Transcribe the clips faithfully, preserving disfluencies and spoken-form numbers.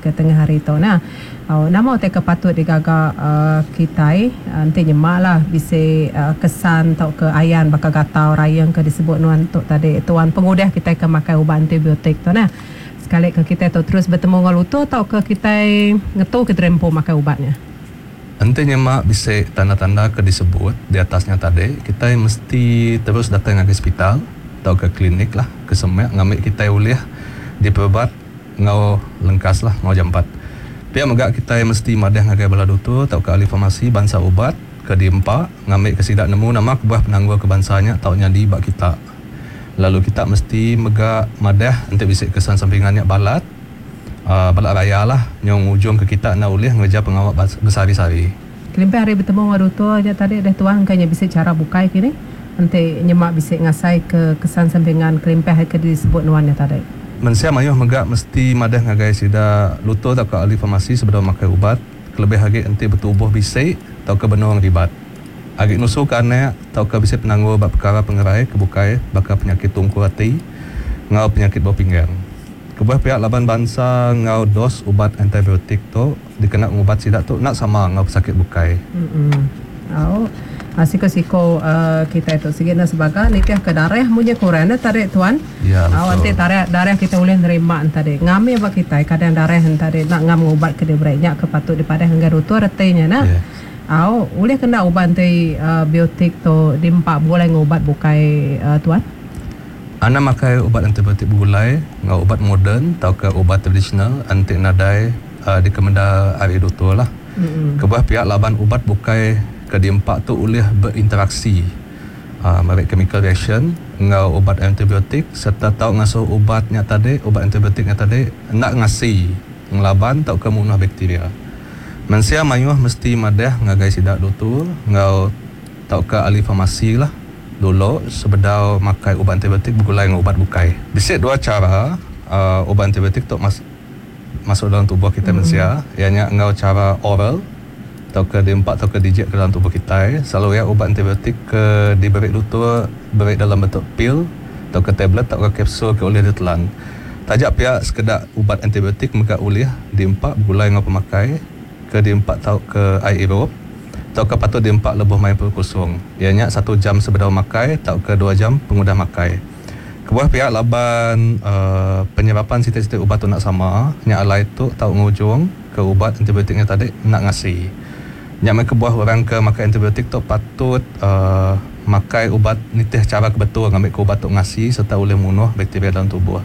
ke tengah hari tu nah. Oh, nama utai ke patut digaga uh, kitai uh, enti nyema lah bisi uh, kesan tauka ayan baka gatal rayang ke disebut nuan tu tadi tuan, pengudah kitai ke makai ubat antibiotik tu nah. Sekali ke kitai tu terus betemu enggau lutur tauka kitai ngetu ke terempu makai ubatnya. Enti nyema bisi tanda-tanda ke disebut di atasnya tadi, kitai mesti terus datang ngagai hospital tauka klinik lah ke semak ngambil kitai ulih diperubat enggau lengkas lah enggau jampat. Pia mega kitai mesti madah ngagai bala doktor tauka ahli farmasi bansa ubat ke diempa ngambil ke sida nemu nama kebuah penanggul ke bansa nya tau nyadi ba kita. Lalu kita mesti mega madah enti bisi kesan sampingan nya balat uh, balat raya lah nyong ujung ke kita nak ulih ngereja pengawa besehari-sehari. Kelimpah hari betemu enggau doktor nya tadi dah tuan, kayaknya bisi cara bukai kini enti nyema bisi ngasai ke kesan sampingan kelimpah ke disebut nuan nya tadi. Mensia mayuh mega mesti madah ngagai sida lutur tauka ahli farmasi sebedau makai ubat, kelebih agi enti betubuh bisi tauka benung ribat. Agi nusu ke anak tauka bisi penanggul ba perkara pengerai ke bukai baka penyakit tungkul ati enggau penyakit bau pinggang. Kebuah pihak laban bansa enggau dos ubat antibiotik tu dikena ngubat sida tu nak sama enggau pesakit bukai. Mm-mm. Oh. Siko-siko uh, kita itu sigi nak sebagai nitih ke darah munyi kurang dah tadi tuan. Ya, betul. Nanti darah darah kita boleh nerima tadi. Ngami ba kita kadang darah tadi nak ngam ubat ke diberi nya ke patut dipadah dengan doktor retinya nah. Yeah. Au, boleh kena ubat antibiotik tu diempak boleh ngubat bukai uh, tuan. Ana makai ubat antibiotik begulai enggau ubat moden tauka ubat tradisional anti nadai uh, dikemenda ari doktor lah. Mm-hmm. Kebuah pihak laban ubat bukai ke diempak tu ulih berinteraksi uh, merik chemical reaction enggau ubat antibiotik serta tau ngasuh ubatnya tadi, ubat antibiotiknya tadi nak ngasi ngelaban tauka munuh bakteria. Mensia mayuh mesti madah ngagai sida doktor enggau tauka ahli farmasi lah dulu sebedau makai ubat antibiotik begulai enggau ubat bukai. Bisi dua cara uh, ubat antibiotik tu mas- masuk dalam tubuh kita Mm-hmm. mensia, ianya enggau cara oral tauka diempak tauka dijik ke dalam tubuh kita. Selalu ya ubat antibiotik ke diberi doktor beri dalam bentuk pil tauka tablet tauka kapsul ke ulih ditelan. Tajak pihak sekedak ubat antibiotik mega ulih diempak begulai enggau pemakai ke diempak tauka air irup tauka patut diempak lebuh main perut kosong. Ianya satu jam sebedau makai tauka dua jam pengudah makai. Kebuah pihak laban uh, penyerapan siti-siti ubat tu nak sama, nya alai tu tau ngujung ke ubat antibiotiknya tadi nak ngasi. Nya mai kebuah orang ke makai antibiotik tu patut uh, makai ubat nitih cara ke betul ngambil ke ubat tu ngasi serta boleh munuh bakteria dalam tubuh.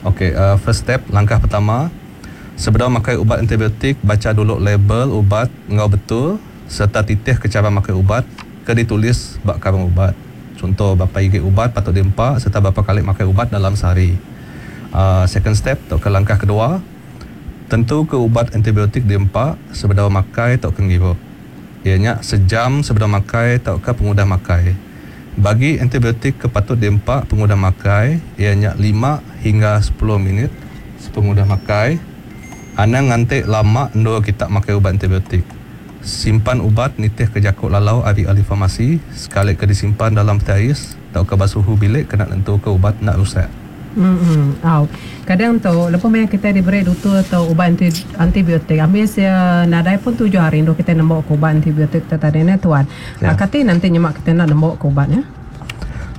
Okey, uh, first step, langkah pertama, sebelum makai ubat antibiotik, baca dulu label ubat enggau betul serta titih ke cara makai ubat ke ditulis bak karung ubat. Contoh berapa igi ubat patut diempak serta berapa kali makai ubat dalam sehari. Uh, second step atau ke langkah kedua, tentu ke ubat antibiotik diempak sebedau makai atau ke ngirup. Ianya sejam sebelum makai atau ke pengudah makai. Bagi antibiotik ke patut diempak pengudah makai, ianya lima hingga sepuluh minit sepengudah makai. Anang ngantik lama endur kita makai ubat antibiotik. Simpan ubat nitih ke jakuk lalau ari ahli farmasi, sekali ke disimpan dalam peti ais atau ke basuhu bilik kena nentu ke ubat nak rusak. Hmm. Oh. Kadang tu lepas maya kita diberi doktor atau ubat anti, antibiotik, ambil sia nadai pun tujuh hari endur kita nembok ke ubat antibiotik tu tadi ne tuan. Ya. Yeah. Kati nanti nyemak kita nak nembok ke ubatnya.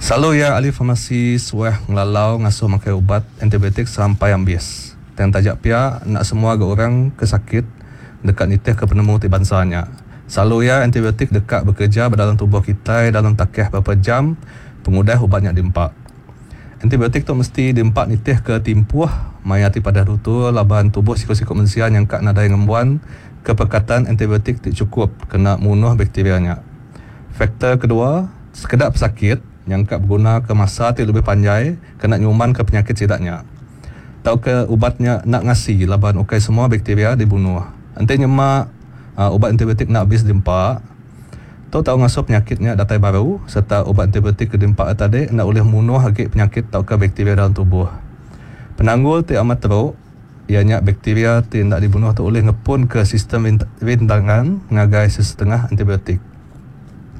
Selalu ya ahli farmasi suah ngelalau ngasuh makai ubat antibiotik sampai ambis. Dan tajak pihak nak semua ke orang ke sakit dekat nitih ke penemu ti bansanya. Selalu ya antibiotik dekat bekerja dalam tubuh kita dalam takeh berapa jam pengudah ubatnya diempak. Antibiotik tu mesti diempak nitih ke timpuh maya ti pada doktor laban tubuh siko-siko mensia yang kak nadai ngembuan kepekatan antibiotik ti cukup kena munuh bakterianya. Faktor kedua, sekedap pesakit yang kak berguna ke masa ti lebih panjai kena nyuman ke penyakit sidaknya. Tau ke ubatnya nak ngasi laban ukai semua bakteria dibunuh. Enti nyemak uh, ubat antibiotik nak habis diempak, tu tau ngasuh penyakitnya datai baru serta ubat antibiotik ke diempak tadi nak boleh munuh agi penyakit tauka bakteria dalam tubuh. Penanggul ti amat teruk ianya bakteria ti nak dibunuh tu boleh ngepun ke sistem rintangan ngagai sesetengah antibiotik.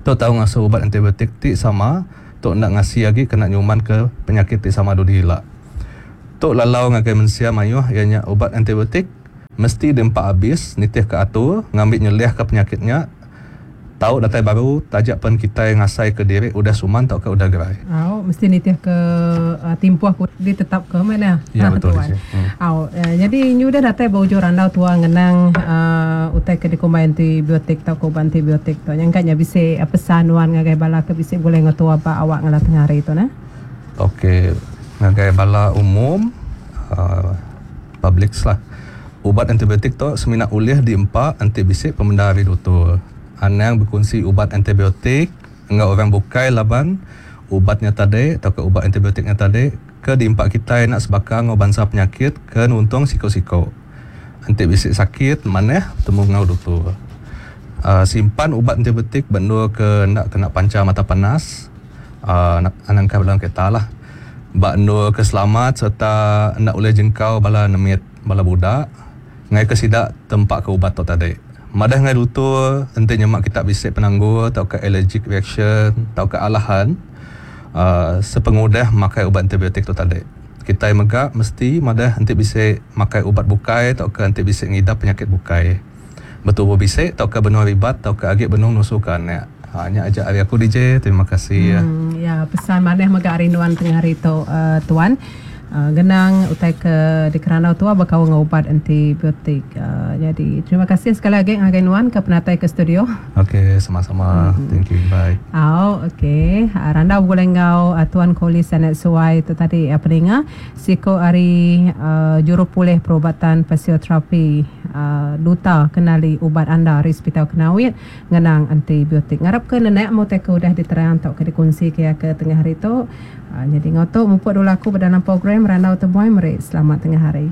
Tu tau ngasuh ubat antibiotik ti sama tu nak ngasi agi kena nyuman ke penyakit ti sama dudi hilak. Tu lalau ngagai mensia mayuh ianya ubat antibiotik mesti diempa abis nitih ke atur ngambi nyeliahka penyakit nya tau datai baru taja pen kitai ngasaika diri udah suman tauka udah gerai. Au, mesti nitih ke uh, timpuh ku ditetapka mana. Ya, betul, Tuan. Desi. Hmm. Au, uh, jadi nyu dah datai ba ujung randau tua ngenang uh, utai ke dikumbai antibiotik tauka ubat antibiotik tu. Nyangka nya bisi uh, pesan nuan ngagai bala ke bisi boleh ngetua ba awak ngalah tengah hari tu nah. Okey, ngagai bala umum uh, public lah. Ubat antibiotik tu semina ulih diempa enti bisi pemendar ari doktor. Anang berkongsi ubat antibiotik enggau orang bukai laban ubatnya tadi atau ke ubat antibiotiknya tadi ke diempa kita nak sebaka enggau bansa penyakit ke nuntung siko-siko. Enti bisi sakit maneh betemu enggau doktor. Uh, simpan ubat antibiotik bendur ke nak kena pancar mata panas. Uh, nak anang dalam kereta lah. Bak endur ke selamat serta nak boleh jengkau bala nemit bala budak ngai ke sidak tempat ke ubat tu tadi. Madah ngai doktor enti nyemak kita bisi penanggul atau ke allergic reaction atau ke alahan uh, sepengudah makai ubat antibiotik tu tadi. Kita mega mesti madah enti bisi makai ubat bukai atau ke enti bisi ngidap penyakit bukai. Betul bisi atau ke benua ribat atau ke agi benung nusu ke anak. Ha, nya aja ari aku D J. Terima kasih. Hmm, ya, pesan maneh mega ari nuan tengah hari tu uh, tuan. Uh, genang utai ke di kerana tua bakau ngubat antibiotik. Uh, jadi terima kasih sekali lagi ngagai nuan ke penatai ke studio. Okey, sama-sama. Mm-hmm. Thank you. Bye. Oh, okey. Uh, randa boleh ngau uh, tuan Koli Sanet Suai tu tadi uh, peninga siko ari uh, juru pulih perubatan fisioterapi uh, duta kenali ubat anda ari Hospital Kenawit ngenang antibiotik. Ngarap ke nenek mu teh ke udah diterang tau ke dikongsi ke ke tengah hari tu. Uh, jadi ngotok mupuk dulu aku dalam program Randau Temuai. Meri selamat tengah hari.